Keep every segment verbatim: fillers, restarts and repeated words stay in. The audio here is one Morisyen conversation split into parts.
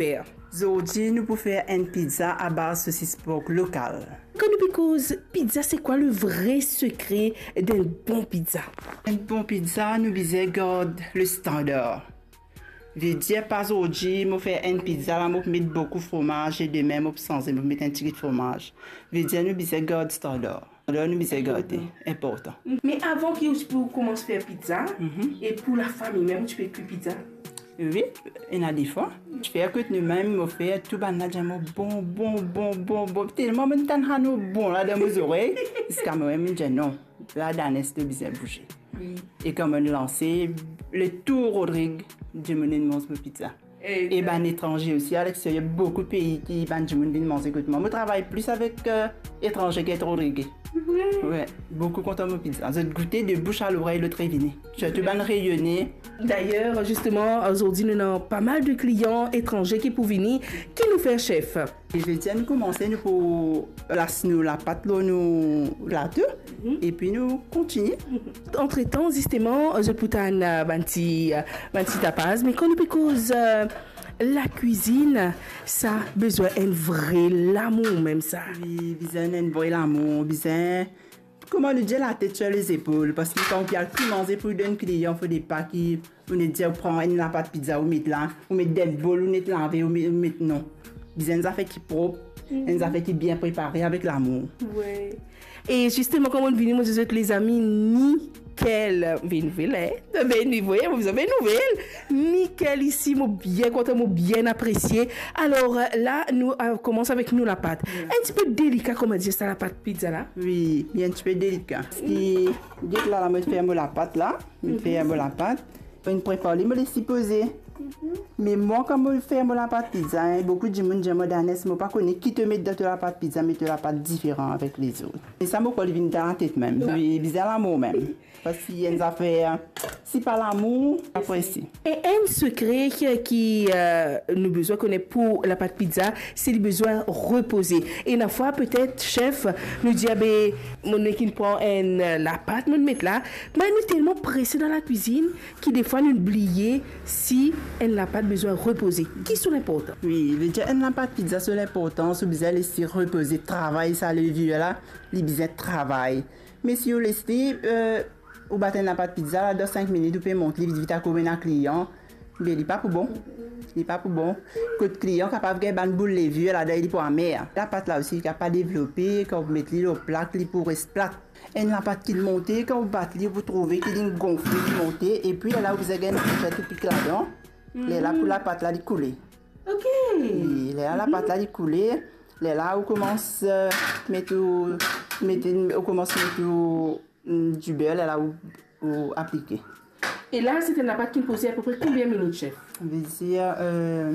Super. Zordi nou pou fer enn pizza abaz sosis pork lokal. Kan nou pe koz pizza, se kwa le vre sekre d'enn bon pizza? Enn bon pizza, nou bizin gard le standar. Vedir pa zordi mo fer enn pizza la, mo pou met boukou fromaz, e demin mo pou sanze, mo pou met enn tigit fromaz. Vedir nou bizin gard standar. Standar nou bizin garde, inportan. Me avan ki ou ti pou koumans fer pizza, e pou lafami mem, ou ti pe kwi pizza? Wi, ena defwa. Ti fer kot nou mem, mo fer tou bann la dir mo bon, bon, bon, bon, bon. Telman mo tann sa non bon la dan mo zorey, ziska mo mem mo dir non, la Danes to bizin bouze. Wi. E kan mo lanse, le tou Rodrig, dimoun inn manz mo pizza. E bann etranze osi, a lexteryer, boukou pei ki bann dimoun vinn manze kot mwa. Mo travay plis avek, eh, etranze ki Rodrig. Wi. Wi, boukou kontan mo pizza. Zot goute de bouche à l'oreille, lot revini. Sirtou bann Reyone. Dayer, zisteman, zordi nou ena pa mal de klian etranze ki pou vini. Ki nou fer, chef? E vedir nou koumanse, nou pou plas nou lapat lor nou plato, epi nou kontigne. Antretan, zisteman, zot pou tann, eh, bann ti, eh, bann ti tapaz, me kan nou pe koz, eh, lakwizinn, sa bizin enn vre lamour mem sa. Wi, bizin enn vre lamour, bizin, kouma nou dir, latet sir lezepol, parski kan ou pe al kwi manze pou donn klian, fode pa ki ou net dir ou pran enn lapat pizza, ou met la, ou met dan bol, ou net lave, ou met, ou met, non. Bizin enn zafer ki prop, enn zafer ki bien prepare avek lamour. Wi. E zisteman, kan mo vini, mo dir zot, lezami, nikel, be nouvel, eh? Be nouvel, mo bizin be nouvel. Nikel isi, mo bien kontan, mo bien apresie. Alor, la, nou, eh, koumans avek nou lapat. Wi. Enn tipe delika, kouma dir sa, lapat pizza la? Wi, li enn tipe delika. Parski, get la, la, mo fer mo lapat la. Mo fer mo lapat. Mo prepar li, mo les li poze. Me mwa, kan mo fer mo lapat pizza, hein, boukou dimoun dir mwa, Danes, mo pa kone ki to met dan to lapat pizza, me to lapat diferan avek lezot. E sa, mo krwar li vinn dan latet mem. Wi, bizin lamour mem. Parski enn zafer, si pa lamour, apre si. E enn sekre ki, ki, eh, nou bizin kone pou lapat pizza, se li bizin repoze. E ena fwa, petet, chef, nou dir, be, mo nek inn pran enn, eh, lapat, mo met la. Me nou telman prese dan lakwizinn ki defwa nou bliye si enn lapat bizin repoze. Ki so linportans? Wi, vedir enn lapat pizza, so linportans, ou bizin les li repoze, travay sa levir la, li bizin travay. Me si ou les li, eh, ou bat enn lapat pizza la, dan sink minit ou pe mont li vit vit akoz ena klian, be li pa pou bon. Li pa pou bon. Kot klian kapav gagn bann boul levir ladan, li pou amer. Lapat la osi, li kapav pa devlope, kan ou met li lor plak, li pou res plat. Enn lapat ki monte, kan ou bat li, ou pou trouve ki li gonfle, li monte, epi lerla ou bizin gagn enn pik ladan. Lerla pou lapat la, li koule. Ok. Wi, lerla lapat la, li koule. Lerla ou koumans, eh, met ou, met, ou koumans met ou, mm, diber, lerla ou, ou aplike. E la, se enn lapat ki poze apepre konbien minit, chef? Vedir, eh,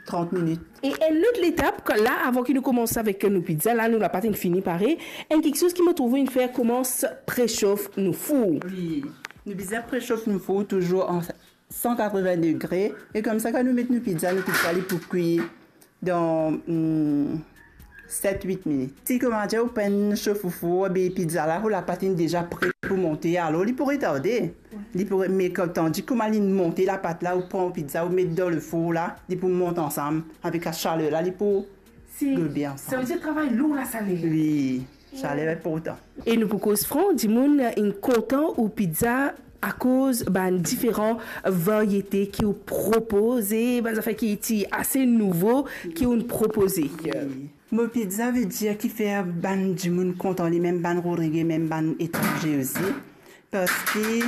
trant minit. E enn lot letap, kan la, avan ki nou koumans avek nou pizza, la, nou lapat inn fini pare, enn kiksoz ki mo trouve inn fer koumans presof nou four. Wi, nou bizin presof nou four touzour an san katreven degre, e koumsa, kan nou met nou pizza, nou pizza li pou kwi dan, hmm, set, wit minit. Si kouma dir ou pa'nn sof ou four, be pizza la, ou lapat inn deza pre pou monte, alor li pou retarde. Li pou re-, me kan, tandi kouma li monte lapat la, ou pran ou pizza, ou met dan le four la, li pou mont ansam avek la saler la, li pou gobie ansam. Savedir travay lour la, sale. Wi, saler inportan. E nou pou koz fran, dimoun inn kontan ou pizza akoz bann diferan variete ki ou propoze, bann zafer ki ti ase nouvo ki ou propoze. Wi. Mo pizza vedir ki fer bann dimoun kontan, li mem bann Rodrig, mem bann etranze osi. Parski,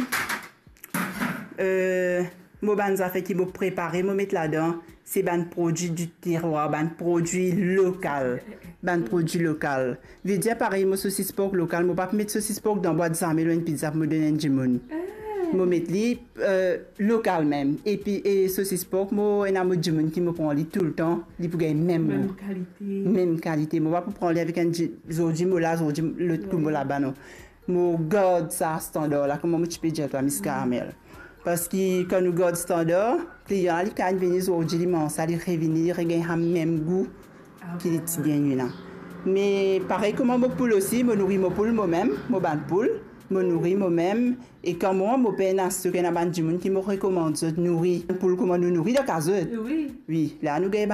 eh, mo bann zafer ki mo prepare, mo met ladan, se bann prodwi di terwar, bann prodwi lokal, bann prodwi lokal. Vedir parey mo sosis pork lokal, mo pa pou met sosis pork dan bwat zame lor enn pizza pou mo donn enn dimoun. Ah. Mo met li, eh, lokal mem. Epi, e sosis pork, mo ena mo dimoun ki mo pran li toultan, li pou gagn mem gou. Mem kalite. Mem kalite. Mo pa pou pran li avek enn di-, zordi mo la, zordi lot kou mo laba, non. Mo gard sa standar la, kouma mo ti pe dir twa, Miss Caramel. Parski kan nou gard standar, klian la, li kapav vini zordi, li manz sa, li revini, li regagn sa mem gou ki li ti gagn la. Me parey kouma mo poul osi, mo nouri mo poul mo mem, mo bann poul. Mo nouri momem, e kan mwa mo pena stok, ena bann dimoun ki mo rekomand zot nouri poul kouma nou nouri dan kaz zot. Wi. Wi, la nou gagn bann